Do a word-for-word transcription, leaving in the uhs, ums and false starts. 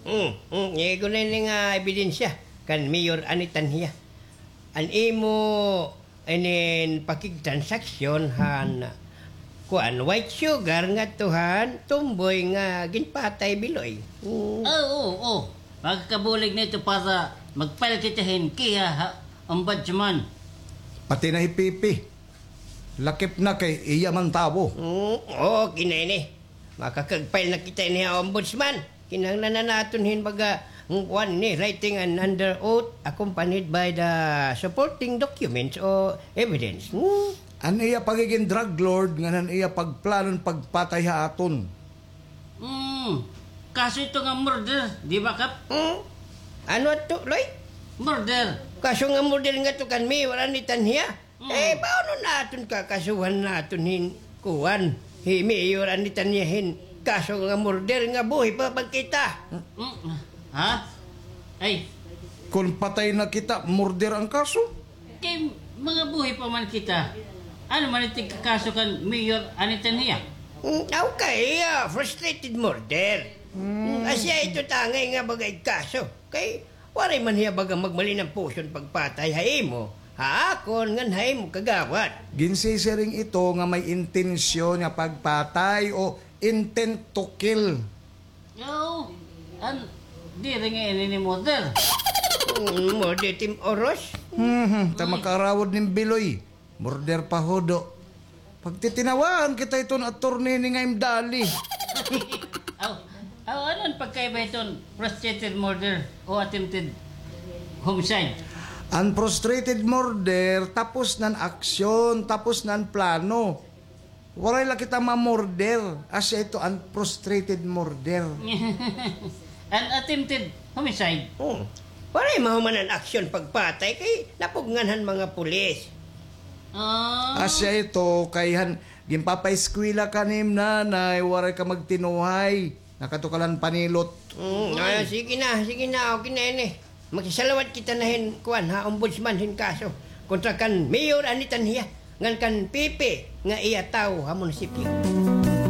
Hmm, hmm, igo na ini nga ebidensya kan Mayor Annie Tanhia. An imo inin pakigtransaksyon han, kuan, white sugar ngadto han tomboy nga ginpatay, Biloy. Hmm. Ah, oo, oo. Makakabulig na ito para mag-file kita hin kiha ha ombudsman. Pati na hi Pipi. Lakip na kay iya man tawo. Hmm, oo, kinay ni. Makakag-file na kita ini ha ombudsman. Kinahanglan na naton hin baga, mm, kuan ni, writing an under oath accompanied by the supporting documents o evidence. Hmm? An iya pagigin drug lord ngan an iya pagplanon pagpatay ha aton. Hmm. Kaso ito nga murder, di ba, Kap? Hmm? Ano ato, Loy? Murder. Kaso nga murder ngadto kan Mayor Annie Tanhia? Mm. Eh, paano naton kakasuhan naton hin kuan? Hi Mayor Annie Tanhia hin kaso nga murder nga buhi pa man kita. Mm. Ha? Ay. Kon patay na kita, murder an kaso? Kay mga buhi pa man kita. Ano man it igkakaso kan Mayor Annie Tanhia? Mm, okay, ah, frustrated murder. Mm. Mm, asya ito tangay nga baga igkaso. Kay waray man hiya baga magmalin an puson pagpatay ha imo, ha akon, ngan ha imo kagawad. Ginsisiring ito nga may intensyon nga pagpatay o intent to kill. Oo. An, diri nga ini ni murder. Mm, murder tim oros. Mhm, ta makaarawod nin Biloy. Murder pa hudo. Pagtitinawaan kita hiton attorney ni nga imdali. Aw, aw, ano an pagkaiba hiton frustrated murder o attempted homicide? An frustrated murder, tapos na an aksyon, tapos na an plano. Waray la kita ma-murder, asya ito an frustrated murder. An attempted homicide? Hmm. Waray mahuman an aksyon pagpatay kay napugngan han mga pulis. Ah. Asya ito kay han ginpapaeskwela ka nim nanay, waray ka magtinuhay. Nakatukalan panilot. Mm, ah, sige na, sige na, okay na ini. Magsasalawat kita na hin, kuan, ha, ombudsman hin kaso kontra kan Mayor Annie Tanhia, ngan kan P P nga iya tawo ha munisipyo.